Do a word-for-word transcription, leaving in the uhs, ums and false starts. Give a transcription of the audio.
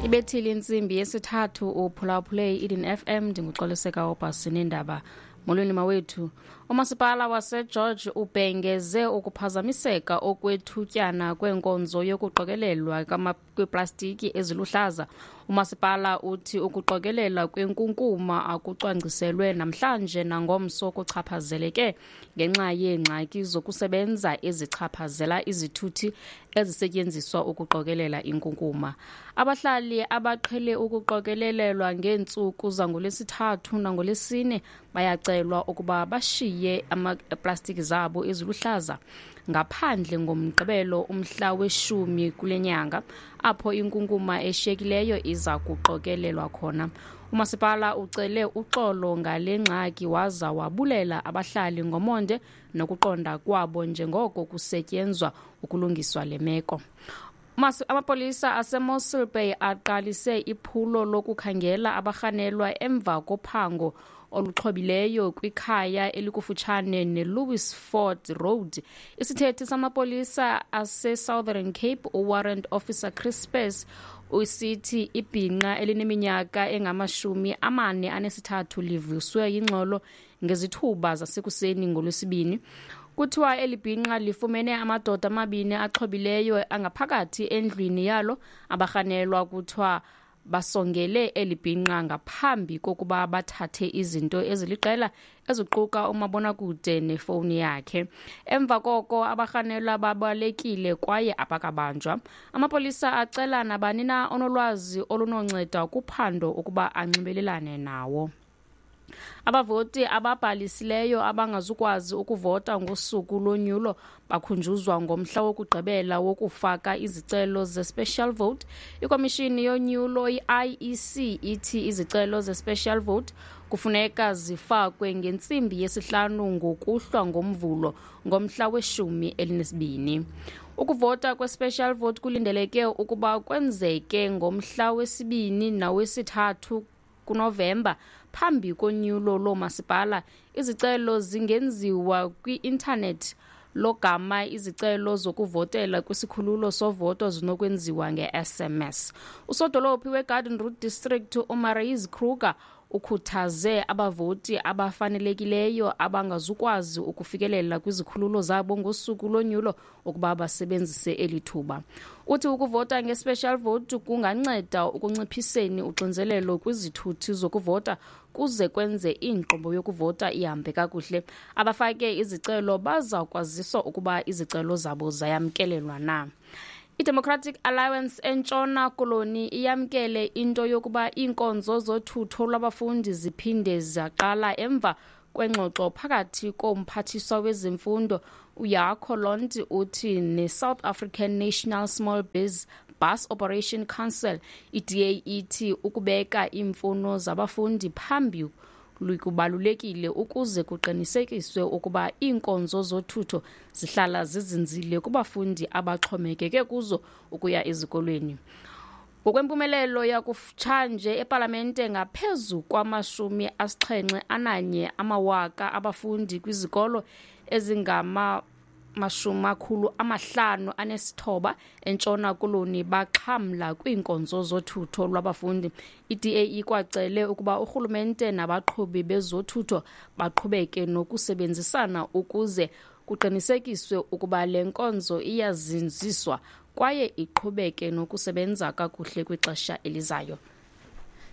Ibethile intsimbi yesithathu, uphulaphule i-Eden F M. Ndinguxoliseka Obhasi neendaba. Molweni mawethu. Umasipala waseGeorge ubhengeze ukuphazamiseka okwethutyana kwenkonzo yokuqokelelwa kweeplastiki eziluhlaza. Umasipala uthi ukuqokelela kwenkunkuma akucwangciselwe namhlanje nangomso kuchaphazeleke ngenxa yeengxaki zokusebenza ezichaphazela izithuthi ezisetyenziswa ukuqokelela inkunkuma. Abahlali abaqhele ukuqokelelelwa ngeentsuku zangoLwesithathu nangoLwesine bayacelwa ukuba bashiye amaplastiki zabo eziluhlaza ngaphandle ngoMgqibelo umhla weshumi kule nyanga, apho inkunkuma eshiyekileyo iza kuqokelelwa khona. Umasipala ucele uxolo ngale ngxaki waza wabulela abahlali ngomonde nokuqonda kwabo njengoko kusetyenzwa ukulungiswa le meko. Amapolisa aseMossel Bay aqalise iphulo lokukhangela abarhanelwa emva kophango oluxhobileyo kwikhaya elikufutshane neLouis Ford Road. Isithethi samapolisa aseSouthern Cape, uWarrant Officer Chris Spes, usithi ibhinqa elineminyaka engamashumi amane anesithathu livuswe yingxolo ngezithuba zasekuseni ngoLwesibini. Kuthiwa eli bhinqa lifumene amadoda amabini axhobileyo angaphakathi endlwini yalo. Abarhanelwa kuthiwa basongele eli bhinqa ngaphambi kokuba bathathe izinto eziliqela eziquka umabonakude nefowuni yakhe. Emva koko abarhanelwa babalekile kwaye abakabanjwa. Amapolisa acela nabani na onolwazi olunonceda kuphando ukuba anxibelelane nawo. Abavoti ababhalisileyo abangazukwazi ukuvota ngosuku lonyulo bakhunjuzwa ngomhla wokugqibela wokufaka izicelo ze-special vote. Ikomishini yonyulo i-I E C ithi izicelo ze-special vote kufuneka zifakwe ngentsimbi yesihlanu ngokuhlwa ngoMvulo ngomhla weshumi elinesibini. Ukuvota kwe-special vote kulindeleke ukuba kwenzeke ngomhla wesibini nawesithathu kuNovemba phambi konyulo loomasipala. Izicelo zingenziwa kwi-intanethi, logama izicelo zokuvotela kwisikhululo sovoto zinokwenziwa nge-S M S. Usodolophi weGarden Route District uMarais Kruger ukhuthaze abavoti abafanelekileyo abangazukwazi ukufikelela kwizikhululo zabo ngosuku lonyulo ukuba basebenzise eli thuba. Uthi ukuvota nge-special vote kunganceda ukunciphiseni uxinzelelo kwizithuthi zokuvota kuze kwenze inkqubo yokuvota ihambe kakuhle. Abafake izicelo baza kwaziswa ukuba izicelo zabo zayamkelelwa na. I-Democratic Alliance eNtshona Koloni iyamkele into yokuba iinkonzo zothutho lwabafundi ziphinde zaqala emva kwengxoxo phakathi komphathiswa wezemfundo uJaco Londt uthi ne-South African National Small Biz Bus Operation Council. I-D A ithi ukubeka iimfuno zabafundi phambi kubalulekile ukuze kuqinisekiswe ukuba iinkonzo zothutho zihlala zizinzile kubafundi abaxhomekeke kuzo ukuya ezikolweni. Ngokwempumelelo yakutshanje epalamente, ngaphezu kwamashumi asixhenxe ananye amawaka abafundi kwizikolo ezingama mashumi akhulu amahlanu anesithoba eNtshona Koloni baxhamla kwiinkonzo zothutho lwabafundi. I-D A ikwacele ukuba urhulumente nabaqhubi bezothutho baqhubeke nokusebenzisana ukuze kuqinisekiswe ukuba le nkonzo iyazinziswa kwaye iqhubeke nokusebenza kakuhle kwixesha elizayo.